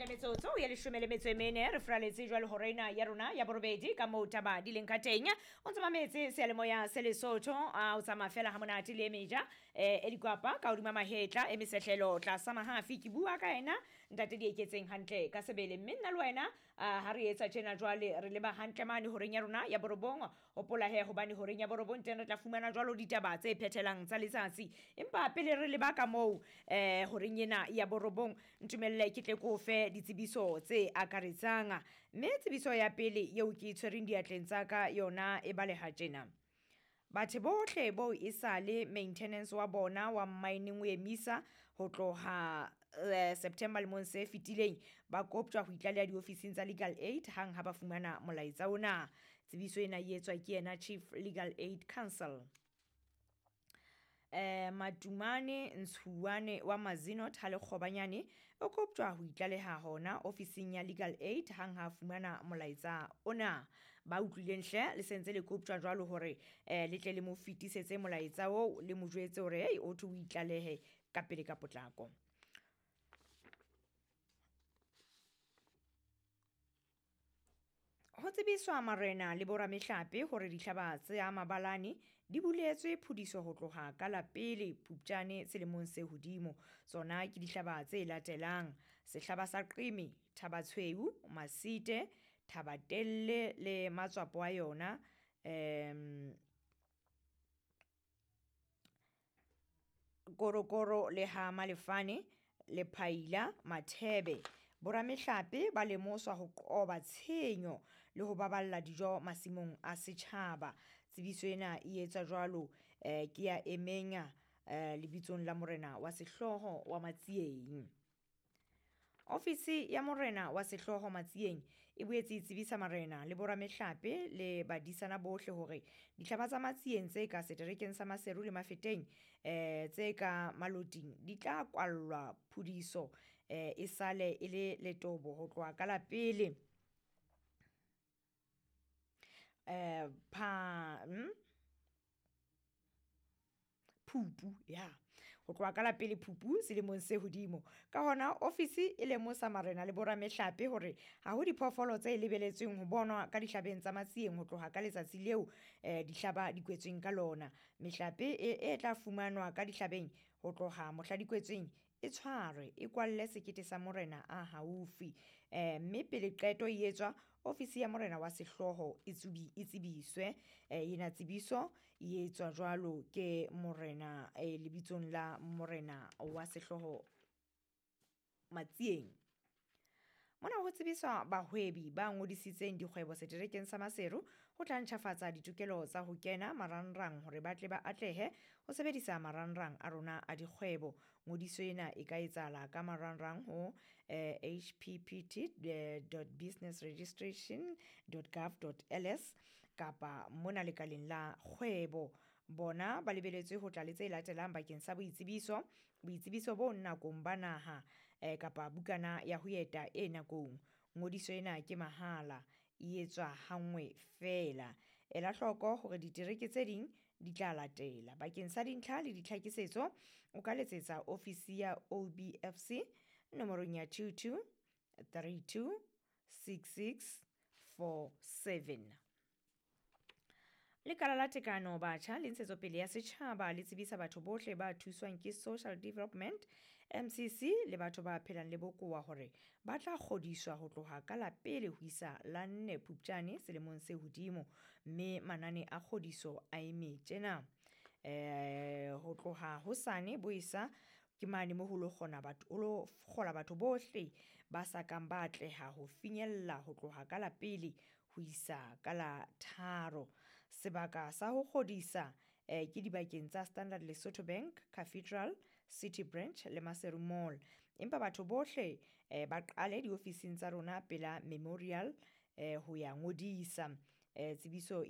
Hantle metsotso ya 14 re furaletse jwale hora ena ya rona ya borobedi ka moo taba di leng ka teng. O ntse mametse seyalemoya se Lesotho, a o tsamaya fela ha monate le e meja e dikwapa ka hodima mahetla e mesehlelo tlasa mahafi. Ke bua ka ena ntate di eketseng hantle ka sebele, mme nna le wena ha re etsa tjena jwale re leba hantle mane horeng ya rona ya borobong. Hopola he hobane horeng ya borobong teng re tla fumana jwalo ditaba tse phethelang tsa letsatsi, empa pele re leba ka moo horeng ena ya borobong, ntumelle ke tle ko fe ditsebiso tse akaretsang. Mme tsebiso ya pele eo ke e tshwereng diatleng tsa ka yona e baleha tjena: batho bohle bo e sale maintenance wa bona wa mining o emisa ho tloha September lemong se fetileng, ba koptjwa ho itlaleha diofising tsa Legal Aid hang ha ba fumana molaetsa ona. Tsebiso ena e etswa ke yena Chief Legal Aid Council. Matumane Ntshuwane wa Mazinot ha Lekgobanyane o koptjwa ho itlaleha hona ofising ya Legal Aid hang ha fumana molaetsa ona. Ba utlwileng hle le sentse le koptjwa jwalo hore le tle le mo fetisetse molaetsa oo, le mo jwetse hore hey, o thwe o itlalehe ka pele ka potlako. Ho tsebiswa marena le boramehlape hore dihlaba tsa mabalane di buletswe phudiso ho tloha ka la pele Phupjane selemong se hodimo. Tsona ke dihlaba tse latelang: sehlaba sa Qeme, Thabatshweu, Masite, Thabatelle le matswapo a yona, Korokoro le ha Malefane, Lephaila, Mathebe. Boramehlape ba lemoswa ho qoba tshenyo le ho baballa dijo masimong a setjhaba. Tsebiso ena e etswa jwalo ke ya emeng lebitsong la morena wa sehlooho wa Matsieng. Ofisi ya morena wa sehlooho Matsieng e boetse e tsebisa marena le boramehlape le badisana bohle hore dihlaba tsa Matsieng tse ka seterekeng sa Maseru le Mafeteng tse ka Maloting di tla kwallwa phudiso e sale e le letobo ho tloha ka la pele Phupu, ya ho tloha ka la pele Phupu selemong se hodimo. Ka hona ofisi e lemosa marena le boramehlape hore ha ho diphoofolo tse lebeletsweng ho bonwa ka dihlabeng tsa Matsieng ho tloha ka letsatsi leo dihlaba di kwetsweng ka lona. Mehlape e tla fumanwa ka dihlabeng ho tloha mohla di kwetsweng e tshwarwe, e kwalle sekete sa morena a haufi. Mme pele qeto e etswa, ofisi ya morena wa sehlooho e tsebiswe. Ena tsebiso e etswa jwalo ke morena lebitsong la morena wa sehlooho Matsieng. Mona ho tsebiswa bahwebi ba ngodisitseng dikgwebo seterekeng sa Maseru ho tla ntjhafatsa ditokelo tsa ho kena marangrang hore ba tle ba atlehe ho sebedisa marangrang a rona a dikgwebo. Ngodiso ena e ka etsahala ka marangrang ho hppt.businessregistration.gov.ls kapa mona lekaleng la kgwebo. Bona ba lebeletswe ho tla le tse latelang bakeng sa boitsebiso, boitsebiso bo nakong ba naha kapa bukana ya ho eta e nakong. Ngodiso ena ke mahala, e etswa hanngwe feela. Ela hloko hore ditereke tse ding di tla latela. Bakeng sa dintlha le ditlhakisetso o ka letsetsa ofisi ya OBFC nomorong ya 22 32 66 47. Lekala la Tekano Batjha le Ntshetsopele ya Setjhaba le tsebisa batho bohle ba thuswang ke Social Development MCC le batho ba phelang le bokowa hore ba tla kgodiswa ho tloha ka la pele ho isa la 4 Phupjane selemong se hodimo, mme manane a kgodiso a eme tjena. Ho tloha hosane boesa ke mane mo ho lo kgona batho, ho lo kgola batho bohle ba sa kang ba atleha ho finyella ho tloha ka la pele ho isa ka la 3. Sebaka sa ho kgodisa ke dibakeng tsa Standard Lesotho Bank, Cathedral, City Branch le Maseru Mall. Empa batho bohle ba qale diofising tsa rona pela Memorial ho ya ngodisa. Tsebiso